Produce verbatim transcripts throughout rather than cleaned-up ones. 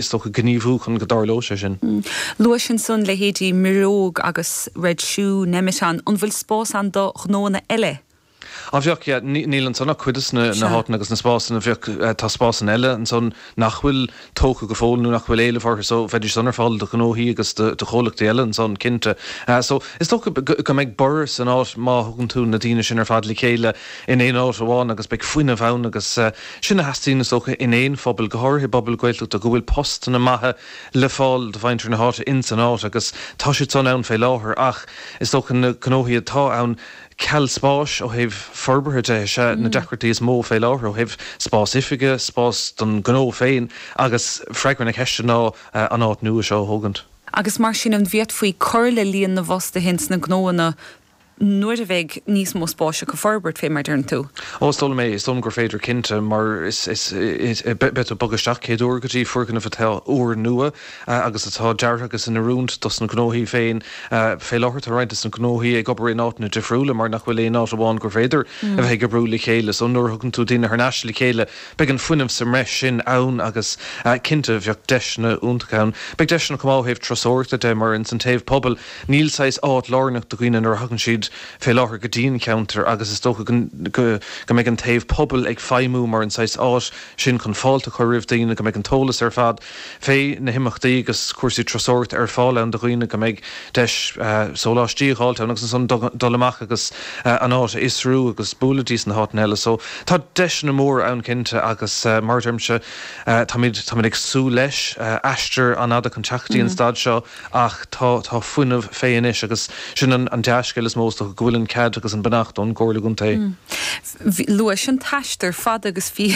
Is dócha gníomhú chun go dtarlódh sé sin. Luais ansan leithéidí Mireog agus Red Shoe, Nemeton, an bhfuil spás ann do ghnóanna eile? Á bheadh, yeah, níl ansan ach cuid de na háiteanna agus na spásanna, bheadh, tá spásanna eile ansan nach bhfuil tógtha go fóill nó nach bhfuil éileamh orthu so bheidís san ar fáil do ghnóthaí agus do chomhlachtaí eile ansan cinnte. So is dócha go mbeidh borradh san áit má thugann tú na daoine sin ar fad le chéile in aon áit amháin agus beidh fuinneamh ann agus sin a theastaíonn is dócha in aon phobal, go háirithe i bpobal Gaeltachta, go bhfuil postanna maithe le fáil do mhuintir na háite ins an áit agus tá siad san ann fé láthair ach is dócha na gnóthaí atá ann ceal spáis ó thaobh forbartha de is ea na deacrachtaí is mó fé láthair ó thaobh spás oifige, spás don ghnó féin agus freagra na ceiste ná an áit nua seo a thógaint. Agus mar sin an bhféadfaí cur le líon na bhfostaithe ins na gnóanna nuair a bheidh níos mó spáis acu forbairt, fé mar deireann tú? Ó, is dóigh liom é, is dóigh liom gur féidir cinnte, mar is, is, is, beidh tú ag bogadh isteach céad uair go dtí foirgneamh atá úrnua agus atá deartha agus in oiriúint dos na gnóthaí féin. Fé láthair tá roinnt des na gnóthaí ag obair in áiteanna difriúla mar nach bhfuil aon áit amháin gur féidir a bheith ag oibriú le chéile. So nuair a thugann tú daoine thar n-ais le chéile beidh an fuinneamh sa mbreis sin ann agus cinnte bheadh deiseanna iontacha ann. Beidh deiseanna chomh maith ó thaobh turasóireachta de mar ins an taobh pobail níl saghas áit lárnach do dhaoine nuair a thagann siad fé láthair go dtí an ceantar agus is dócha go go mbeidh an taobh pobail ag feidhmiú mar an saghas áit sin chun fáilte a chur roimh daoine, go mbeidh an t-eolas ar fad fé na himeachtaí agus cúrsaí turasóireachta ar fáil ann do dhaoine, go mbeidh deis sóláistí a dh'fháilt ann agus ansan dul amach agus an áit a fhiosrú agus bualadh dís na háiteanna eile. So tá deiseanna móra ann cinnte agus mar a deirimse táimid táimid ag súil leis, aistear an-fhada chun teacht go dtí an staid seo ach tá tá fuinneamh fé anois agus sin an an dea-scéal is mó is dócha go bhfuil an cead agus an beannacht ón gComhairle Contae. Luais an t-aistear fada agus bhí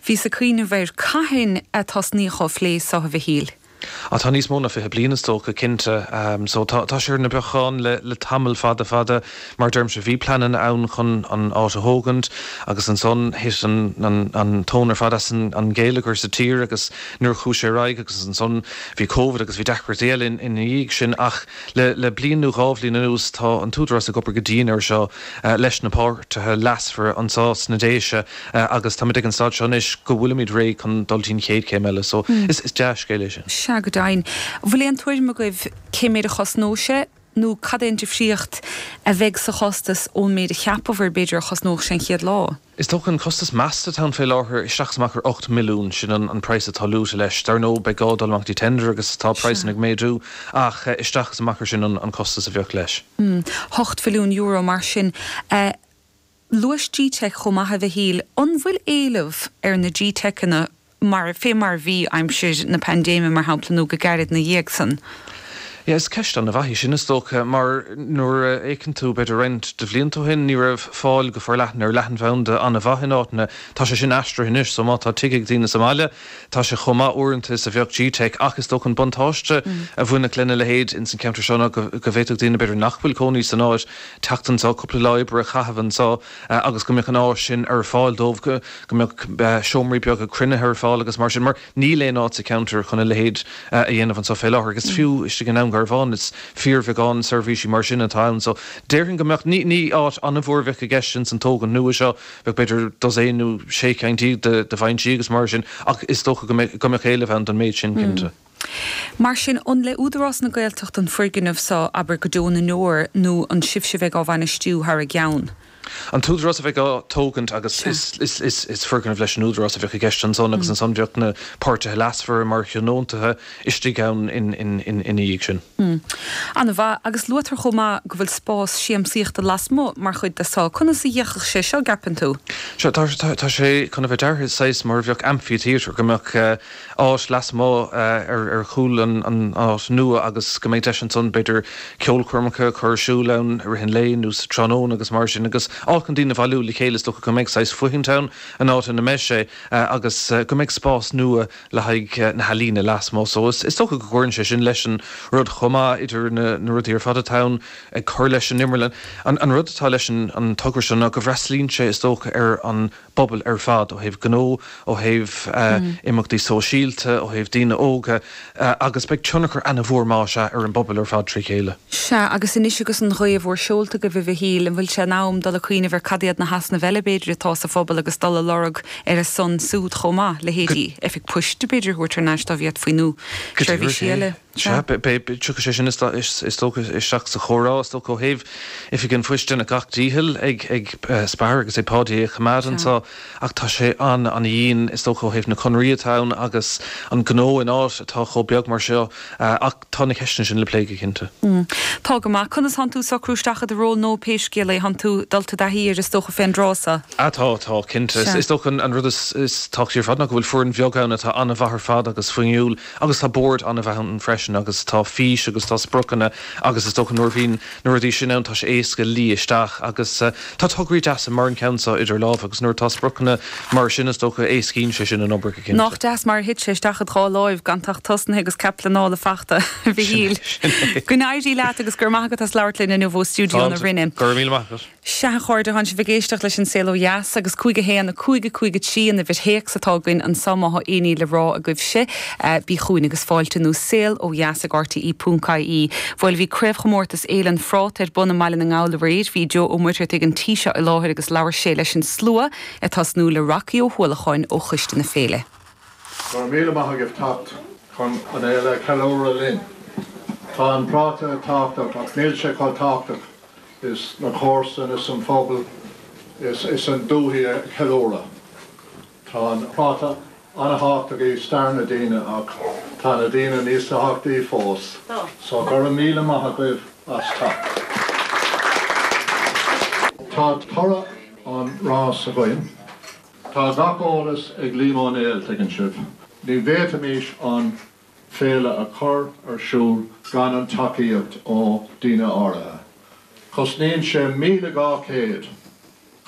bhíos ag cuimhneamh air cathain a tosnaíodh á phlé seo a Mhichíl? Á tá níos mó ná fiche bliain is dócha, cinnte. So tá tá sé ar na beacháin le le tamall fada fada. Mar a deirimse bhí pleananna ann chun an áit a thógaint agus ansan thit an an an tóin ar fad as an an gheilleagar sa tír agus nuair a chuaigh sé ar aghaidh agus ansan bhí Covid agus bhí deacrachtaí eile ina dhiaidh sin ach le le bliain nó dhá bhliain anuas tá an tÚdarás ag obair go dian air seo leis na páirtithe leasmhara anseo sna Déise agus táimid ag an staid seo anois go bhfuilimid réidh chun dul dtí'n chéad chéim eile so is is dea-scéal é sin. Sea, go deimhin. An bhfuil aon tuairim agaibh cé méid a chosnóidh sé nó cad é an difríocht a bheidh sa chostas ón méid a cheapabhair b'fhéidir a chosnódh sé an chéad lá? Is dócha an costas measta atá ann fé láthair, isteach is amach ar ocht milliún, sin an praghas atá luaite leis. Dar ndóigh beidh gá dul amach dtí tender agus tá praghsanna ag méadú ach isteach is amach ar sin an costas a bheadh leis. Ocht mhilliún euro mar sin. Luais G-Teic chomh maith a Mhichíl. An bhfuil éileamh ar na G-Teiceanna mar, fé mar a bhí aimsir na paindéime, mar shampla, nó go gairid 'na dhiaidh san? Yeah, is ceist an-mhaith í sin, is dócha, mar nuair a fhéacann tú, b'fhéidir roinnt de bhlianta ó shin, ní raibh fáil go forleathan ar leathanbhanda an-mhaith in áiteanna. Tá sé sin aistrithe anois, so má tá tigh ag daoine sa mbaile, tá sé chomh maith uaireanta is a bheadh G-Teic, ach is dócha an buntáiste a bhainfeadh lena leithéid ins an cheantar seo ná go bhféadfadh daoine, b'fhéidir, nach bhfuil cónaí san áit, teacht anseo, cúpla lá oibre a chaitheamh anseo agus go mbeadh an áis sin ar fáil dóibh, go mbeadh seomraí beaga cruinnithe ar fáil agus mar sin, mar níl aon áit sa cheantar chun a leithéid a dhéanamh anseo fé láthair agus fiú istigh i nDún Garbhán is fíorbheagán seirbhísí mar sin atá ann so déarfainn go mbeadh, ní, ní áit an-mhór a bheadh i gceist ins an tógaint nua seo, bheadh b'fhéidir dosaen nó sé ceann déag de, de bhainsí agus mar sin ach is dócha go mbeadh, go mbeadh éileamh ann don méid sin cinnte. Mar sin, an le Údarás na Gaeltachta an foirgneamh seo, abair, go deo na ndeor nó an sibhse a bheidh á bhainistiú thar a gceann? An tÚdarás a bheidh á tógaint agus is foirgneamh leis an Údarás a bheadh i gceist ansan agus ansan bheadh na páirtithe leasmhara mar thionóntaithe istigh ann ina dhiaidh sin. An-mhaith. Agus luaitear chomh maith go bhfuil spás siamsaíochta lasmuigh mar chuid de seo. Conas a d'fhéachfadh sé seo, gceapann tú? Sea, tá sé chun a bheith deartha saghas mar a bheadh amphitheatre, go mbeadh áit lasmuigh ar chúl an áit nua agus go mbeidh deis ansan b'fhéidir ceolchoirmeacha a chur ar siúl ann i rith an lae nó sa tráthnóna agus mar sin agus áit chun daoine a bhailiú le chéile. Is dócha go mbeidh saghas fothaint ann an áit ina mbeidh sé agus go mbeidh spás nua le haghaidh na healaíne lasmuigh. So is dócha go gcuireann sé sin leis an rud chomh maith idir na rudaí ar fad atá ann ag cur leis an imearlann. An rud atá leis an togra seo ná go bhfreastalaíonn sé is dócha ar an bpobal ar fad, ó thaobh gnó, ó thaobh imeachtaí sóisialta, ó thaobh daoine óga, agus beidh tionchar ana-mhór más ea ar an bpobal ar fad trí chéile. Sea, agus anois agus an ghaoth mhór seolta agaibh, a Mhichíl, an bhfuil sé in am dul ag cuimhneamh ar cad iad na heasnaimh eile b'fhéidir atá sa phobal agus dul a lorg ar a son súd chomh maith, leithéidí oifig poist b'fhéidir a thabhairt thar n-ais dá bhféadfaí nó seirbhísí eile. Sea, tiocfaidh sé sin is dócha isteach sa chomhrá, is dócha ó thaobh Oifig an Phoist déanadh gach dícheall ag Spar agus ag Páidí é a choimeád anseo ach tá sé an-an-dhian is dócha ó thaobh na conairí atá ann agus an gnó in áit atá chomh beag mar seo ach tá na ceisteanna sin le plé go cinnte. Tá go maith. Conas thánn tú socrú isteach i do ról nua pé scéal é? Thánn tú dul i dtaithí air is dócha fén dtráth seo? Ah tá, tá, cinnte. Is dócha an rud is tábhachtaí ar fad ná go bhfuil foireann bheag ann atá an-mhaith ar fad agus fuinniúil agus tá bord an-mhaith ann freisin. sin agus tá fís agus tá spriocanna agus is dócha nuair a bhíonn na rudaí sin ann tá sé éasca luí isteach agus tá tograí deasa mar an ceann seo idir lámha agus nuair atá spriocanna mar sin is dócha éascaíonn sé sin an obair go cinnte. Nach deas mar a thit sé isteach id dhá láimh gan ach tosnaithe agus cead pleanála fachta, a Mhichíl. Go n-éirí leat agus go raibh maith agat as labhairt linn inniu ó stiúideo na Rinne. Go raibh míle maith agat. Sea, a chairde, tánn sibh ag éisteacht leis an Saol Ó Dheas agus cúig a haon, a cúig, a cúig a trí an uimhir théacs atá againn anso má thá aon ní le rá agaibhse. Bí chugainn agus fáilte nó saol ó dheas ag rte ponc ie. Bhuel, bhí craobhchomórtas Fhéile an Phráta ar bun i mBaile na nGall aréir. Bhí Joe Ó Muircheartaigh an tí seo i láthair agus labhair sé leis an slua ag tosnú le Rocky Ó hUallacháin ó choiste na féile. Go raibh míle maith agaibh teacht chun an fhéile a cheiliúradh linn. Tá an práta tábhachtach ach níl sé chomh tábhachtach is na comharsana is an phobal is an dúthaigh a cheiliúradh. Tá an práta an-thábhachtach i stair na daoine ach tá na daoine níos tábhachtaí fós. So go raibh míle maith agaibh as teacht. Tá toradh an rás againn. Tá gach eolas ag Liam Ó Néill, tuigeann sibh. Ní bhféadfaimis an féile a chur ar siúl gan an tacaíocht ó daoine áirithe. Cosnaíonn sé míle dhá chéad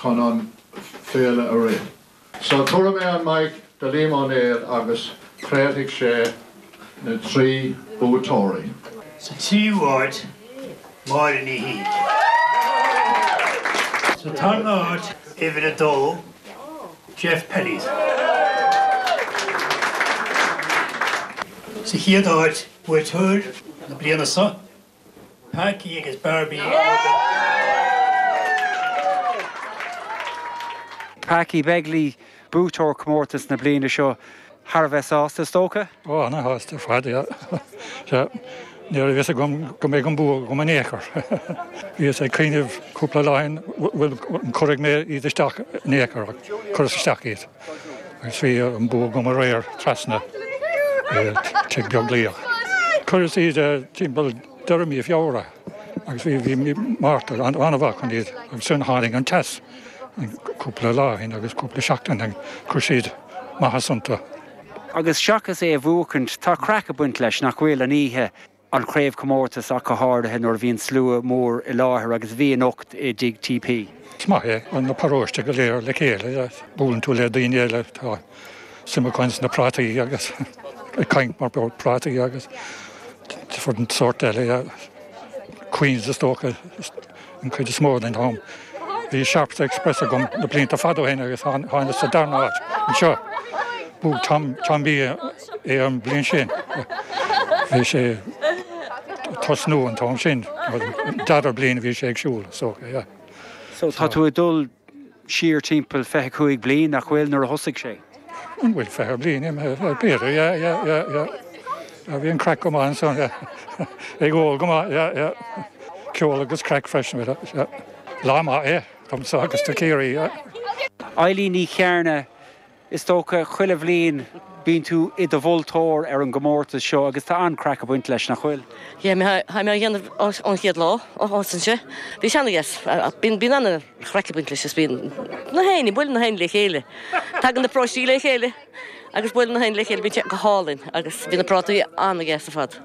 chun an féile a rith. So tabharfaidh mé an mic do Liam Ó Néill agus craolfaidh sé na trí buaiteoirí. Sa tríú háit, Máire Ní Shíc. Sa tarna háit, uimhir a dó, Jeff Pelleys. Sa chéad áit, buaiteoir na bliana seo, Packie agus Barbie Packie Begley, buaiteoir comórtas na bliana seo, thar a bheith sásta, is dócha? Ó, ana-shásta ar fad, yeah. Sea, ní raibh a fhios agam go mbeadh an bua agam in aon chor. Bhíos ag cuimhneamh cúpla lá ó shin, bhfuil, an gcuirfidh mé iad isteach in aon chor, ach chuireas isteach iad. Agus bhí an bua agam aréir trasna i Tigh Beaglaoich. Chuireas iad timpeall deireadh mí Feabhra agus bhí bhí mí Márta an-mhaith chun iad agus ansin tháinig an teas cúpla lá ó shin agus cúpla seachtain ó shin chuir siad maitheas iontu. Agus seachas é a bhuachaint, tá craic ag baint leis, nach bhfuil, an oíche an chraobhchomórtais ach go háirithe nuair a bhíonn slua mór i láthair agus bhí anocht i dTigh TP. Is maith é, an paróiste go léir le chéile, buaileann tú le daoine eile, tá suim acu sna prátaí agus ag caint mar prátaí agus different sórt eile, Queens is dócha an chuid is mó den am. Bhí Sharps Express agam na blianta fada ó shin agus tháinig sa darna háit anseo. Bhuaigh Tom, Tom B é an bhliain sin. Bhí sé tosnú an t-am sin, an dara bliain a bhí sé ag siúl, so yeah. So tá tú ag dul siar timpeall fiche cúig bliain, nach bhfuil, nuair a thosaigh sé? An bhfuil fiche bliain imithe? B'fhéidir, yeah, yeah, yeah, yeah. Bhí an craic go maith ansan, yeah. Ag ól go maith, yeah, yeah. Ceol agus craic freisin, yeah. Lá maith é domsa agus do Chiarraí, yeah. Eilín Ní Chearna, Is dócha, chuile bhliain bíonn tú i do mholtóir ar an gcomórtas seo agus tá an-chraic ag baint leis, nach bhfuil? Yeah, tá mé á dhéanamh ón chéad lá ó thosaigh sé. Bhí sé ana-dheas. Bíonn, bíonn an-chraic ag baint leis is bíonn na héinne, buaileann na héinne le chéile. Tagann na paróistí le chéile agus buaileann na héinne le chéile, bíonn sé go hálainn agus bíonn na prátaí ana-dheas ar fad.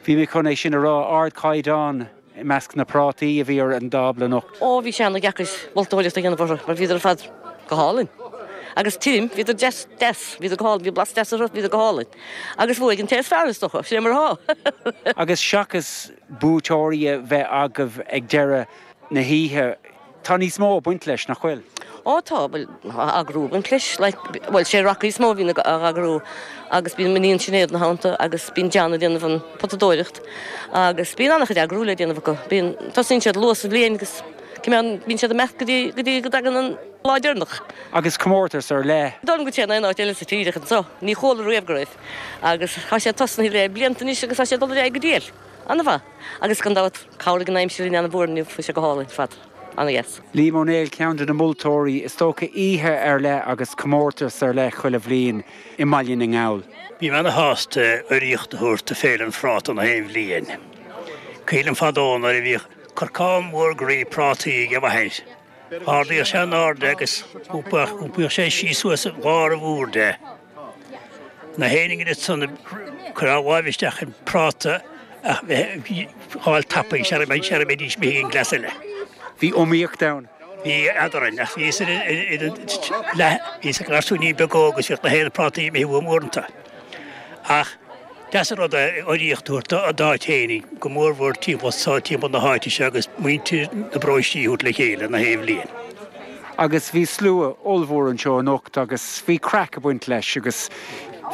Bhí mé chun é sin a rá, ardchaighdeán. I measc na prátaí a bhí ar an dtábla anocht. Ó, bhí sé ana-dheacair moltóireacht a dhéanamh orthu mar bhíodar ar fad go hálainn. Agus tirim, bhíodar deas, deas, bhíodar go hálainn, bhí blas deas orthu, bhíodar go hálainn. Agus bhuaigh an té is fearr, is dócha, sin é mar atá. Agus seachas buaiteoirí a bheith agaibh ag deireadh na hoíche, Tá níos mó ag baint leis, nach bhfuil? Ó tá, bhuel, tá eagrú ag baint leis, like, bhuel, sé Rocky is mó a bhíonn ag eagrú agus bíonn m'iníon Sinéad ina theannta agus bíonn John ag déanamh an potadóireacht agus bíonn an-chuid eagrú le déanamh acu. Bíonn, tosaíonn siad luath sa bhliain agus Cimeán, bíonn siad ag imeacht go dtí, go dtí go dtagann an lá deireanach. Agus comórtas ar leith. Ní dóigh liom go dtéann aon áit eile sa tír ach anso. Ní chuala riamh go raibh. Agus tá sé tosnaithe le blianta anois agus tá sé ag dul ar aghaidh go diail. An-mhaith. Agus gan dabht, chabhraigh an aimsir linn an-mhór inniu, bhí sé go hálainn ar fad. An-dheas. Liam Ó Néill, ceann de na moltóirí, is dócha oíche ar leith agus comórtas ar leith chuile bhliain i mBaile na nGall. Bím ana-shásta urraíocht a thabhairt do Féile an Phráta na haon bhliain. Cuimhin liom fadó nuair a bhíodh corcán mór groí prátaí ag m'athair. Ardaíodh sé in airde agus iompaíodh sé síos suas an bharr mhór de. Na héinne ansan ag cur a láimh isteach i bpráta ach bheith fháil tapaidh sara mbeidís imithe ag an gcleas eile. Bhí iomaíocht ann. Bhí eadrainn ach bhíos leath, bhíos ag garsúinín beag óg agus bhíodh na haon prátaí imithe uaim uaireanta. Ach deas an rud é urraíocht a thabhairt d'áit fhéinig, go mórmhór timpeall so, timpeall na háite seo agus muintir na bparóistí a thabhairt le chéile na haon bhliain. Agus bhí slua ollmhór anseo anocht agus bhí craic ag baint leis agus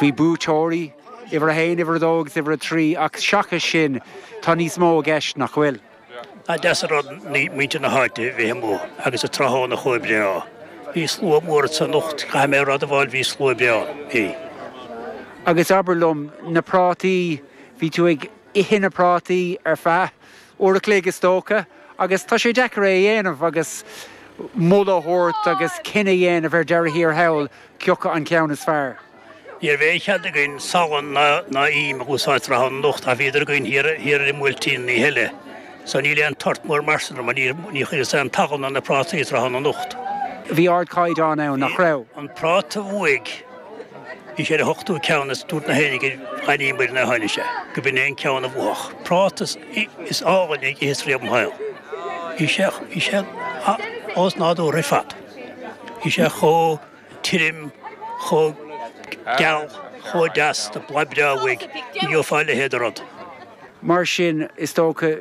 bhí buaiteoirí, uimhir a haon, uimhir a dó agus uimhir a trí ach seachas sin tá níos mó i gceist, nach bhfuil? Ba deas an rud muintir na háite a bheith amuigh agus an tráthnóna chomh breá. Bhí slua mór anso anocht, caithfidh mé a admháil, bhí slua breá ann. Bhí. Agus abair liom, na prátaí, bhí tú ag ithe na prátaí ar feadh uair a chloig is dócha agus tá sé deacair é a dhéanamh agus moladh a thabhairt agus cinneadh a dhéanamh ar deireadh thiar thall cioca an ceann is fearr. Ní raibh aon chead againn salann ná im a úsáid tráthnóna anocht ach bhíodar againn thiar ar an mBuailtín an oíche eile so níl aon tort mór mar sin orm mar níor chuireas aon tsalann ar na prátaí tráthnóna anocht. Bhí ardchaighdeán ann, nach raibh? An práta a bhuaigh, bhí sé ar an ochtú ceann is dúirt na héinne gur dh'aithníomair nuair a tháinig sé go b'in é an ceann a bhuafadh. Práta is álainne a d'itheas riamh im shaol. Bhí sé, bhí sé osnádúrtha ar fad. Bhí sé chomh. tirim, chomh geal, chomh deas, tá boladh breá uaidh, ní gheofá a leithéid de rud. Mar sin, is dócha,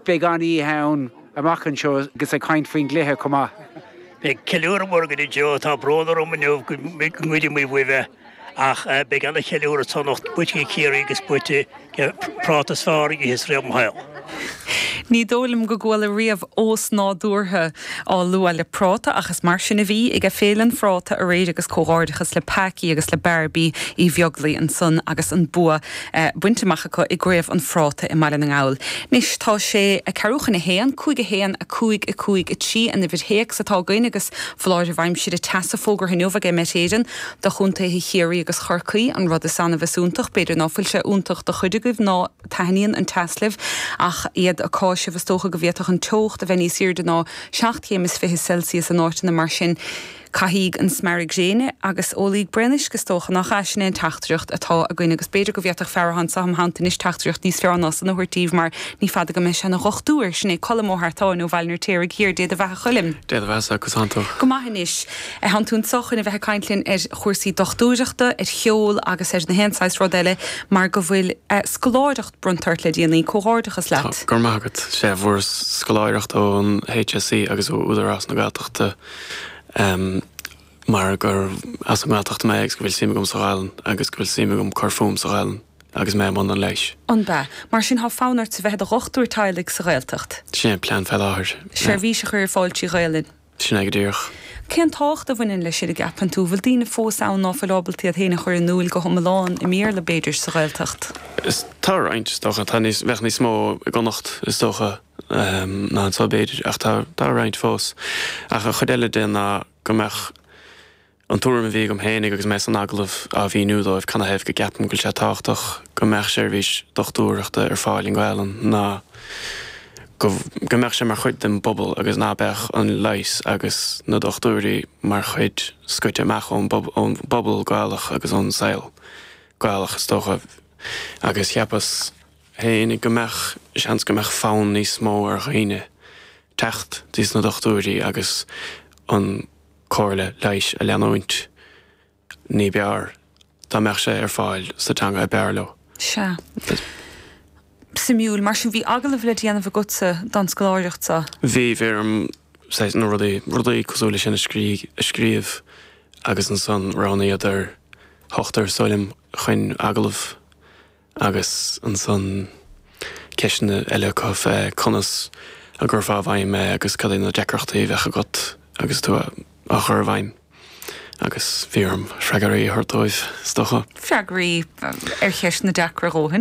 beidh an-oíche ann amach anseo agus ag caint faoin gcluiche chomh maith. Beidh ceiliúradh mór againn anseo, tá brón orm inniu go ngoidfidh muid uaibh é ach beidh ana-cheiliúradh anso anocht, buaite ag Ciarraí agus buaite ag práta is fearr a d'itheas riamh im shaol. Ní dóigh liom go gcuala riamh 'ósnádúrtha' á lua le práta ach is mar sin a bhí ag Féile an Phráta aréir agus comhghairdeachas le Packie agus le Barbie Uí Bheaglaoi ansan agus an bua bainte amach acu i gCraobh an Phráta i mBaile na nGall. Anois tá sé a ceathrú chun a haon, cúig a haon, a cúig, a cúig, a trí an uimhir théacs atá againn agus foláireamh aimsire teasa fógartha inniu ag Met Éireann do chontaetha Chiarraí agus Chorcaí, an rud is annamh is iontach. B'fhéidir ná fuil sé iontach do chuid agaibh ná taitníonn an teas libh ach iad ag cáiseamh is dócha go bhféadfadh an teocht a bheith níos airde ná seacht chéim is fiche Celsius in áiteanna mar sin. Caithigí an smearadh gréine agus ólaigí braon uisce is dócha, nach ea? Sin é an teachtaireacht atá againn agus b'fhéidir go bhféadfadh fear atá anseo im theannta anois teachtaireacht níos fearr ná san a thabhairt daoibh mar ní fada go mbeidh sé ina dhochtúir. Sin é Colm Ó hEartáin ó Bhaile an Fheirtéaraigh Thiar. Dé do bheatha a Choilm. Dé do bheatha-sa, conas tánn tú? Go maith anois. Tánn tú anseo chun a bheith ag caint linn ar chúrsaí dochtúireachta, ar cheol agus ar na haon saghas rud eile mar go bhfuil scoláireacht bronnta ort le déanaí. Comhghairdeachas leat. Tá, go raibh maith agat. Sea, fuaireas scoláireacht ón HSE agus ó Údarás na Gaeltachta mar gur as an nGaeltacht mé agus go bhfuil suim agam sa Ghaelainn agus go bhfuil suim agam cur fúm sa Ghaelainn agus mé i mbun an leighis. An b'ea? Mar sin, tá fonn ort a bheith i do dhochtúir teaghlaigh sa Ghaeltacht? Sin é an plean fé láthair. Seirbhís a chur ar fáil trí Ghaelainn. Sin é go díreach. Cén tábhacht a bhaineann leis sin, a gceapann tú? Bhfuil daoine fós ann ná fuil ábalta iad féin a chur in iúil go hiomlán i mBéarla, b'fhéidir, sa Ghaeltacht? Is, tá roinnt, is dócha. Tá níos, bheadh níos mó i gConnacht, is dócha, ná anseo, b'fhéidir, ach tá, tá roinnt fós. Ach an chuid eile de ná go mbeadh an tuairim a bhí agam féinig agus mé san agallamh á mhíniú dóibh canathaobh go gceapaim go bhfuil sé tábhachtach go mbeadh seirbhís dochtúireachta ar fáil i nGaelainn ná go go mbeadh sé mar chuid den bpobal agus ná beadh an leigheas agus na dochtúirí mar chuid scoite amach ón ón bpobal Gaelach agus ón saol Gaelach is dócha agus cheapas féinig go mbeadh seans go mbeadh fonn níos mó ar dhaoine teacht dtí na dochtúirí agus an comhairle leighis a leanúint ní b'fhearr dá mbeadh sé ar fáil sa teanga ab fhearr leo. Sea. Suimiúil. Mar sin, bhí agallamh le déanamh agatsa don scoláireacht seo? Bhí, bhí orm saghas na rudaí, rudaí cosúil leis sin a scríobh agus ansan roghnaíodar ochtar is dóigh liom chun agallamh agus ansan ceisteanna eile acu fé conas a gcuirfeá i bhfeidhm é agus cad é na deacrachtaí a bheadh agat agus tú á chur i bhfeidhm. Agus bhí orm freagraí a thabhairt dóibh is dócha. Freagraí ar cheisteanna deacra a dhóthaint.